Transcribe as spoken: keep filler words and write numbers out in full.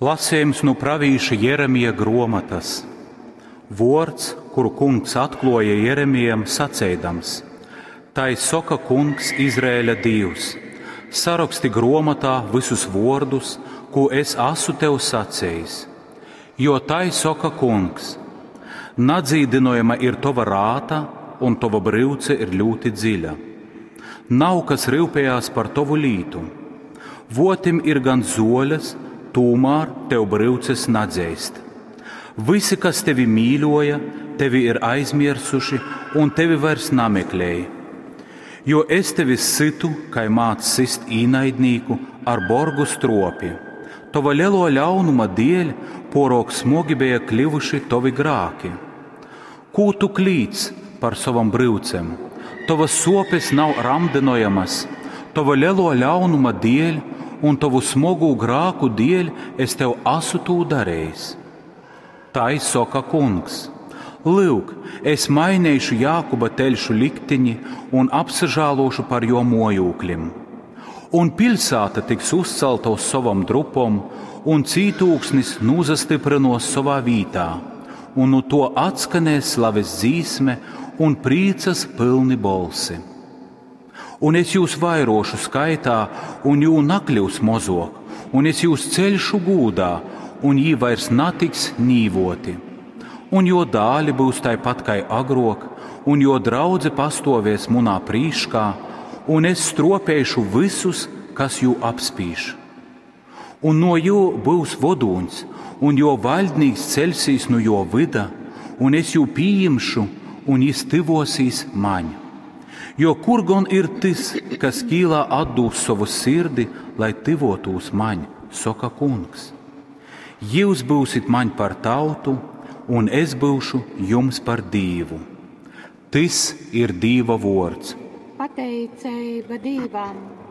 Lasījums nu pravīša Jeremija gruomotas. Vuords, kuru kungs atkluoja Jeremijam, saceidams: Tai soka kungs Izraēļa Dīvs: Saraksti gruomotā vysus vuordus, kū es asu tev sacejis. Jo tai soka kungs: Nadzīdynojama ir tova rāta, un tova bryuce ir ļūti dziļa. Nav kas ryupējās par tovu lītu. Votim ir gan zoļas, tūmār tev bryuces nadzeist. Visi, kas tevi mīļoja, tevi ir aizmirsuši un tevi vairs nameklēja. Jo es tevi situ, kai māc sist īnaidnīku ar borgu stropi. Tova lielo ļaunuma dēļ porok smogi bija kļuvuši tovi grāki. Kū tu klīdz par savam bryucem? Tavas sopes nav ramdinojamas, tava lielo ļaunuma dēļ un tavu smogu grāku dēļ es tev asu tū darījis. Tai soka kungs. Lūk, es mainīšu Jākuba teļšu liktiņi un apsažālošu par jo mojūkļim. Un pilsēta tiks uzcelta uz savam drupom, un cītūksnis nūzastiprinos savā vītā, un nu to atskanēs slaves dzīsme un priecas pilni bolsi. Un es jūs vairošu skaitā, un jū nakļūs mozok, un es jūs ceļšu gūdā, un jī vairs natiks nīvoti. Un jo dāli būs tāpat kā agrok, un jo draudze pastovēs munā prīškā, un es stropēšu visus, kas jū apspīš. Un no jo būs vodūņs, un jo valdnīgs ceļsīs no jo vida, un es jū pieņemšu, un jis tivosīs maņ. Jo kur gan ir tas, kas kīlā atdūs savu sirdi, lai tivotūs maņ, soka kungs. Jūs būsit maņ par tautu, un es būšu jums par dīvu. Tis ir Dīva vords. Pateiceiba Dīvam!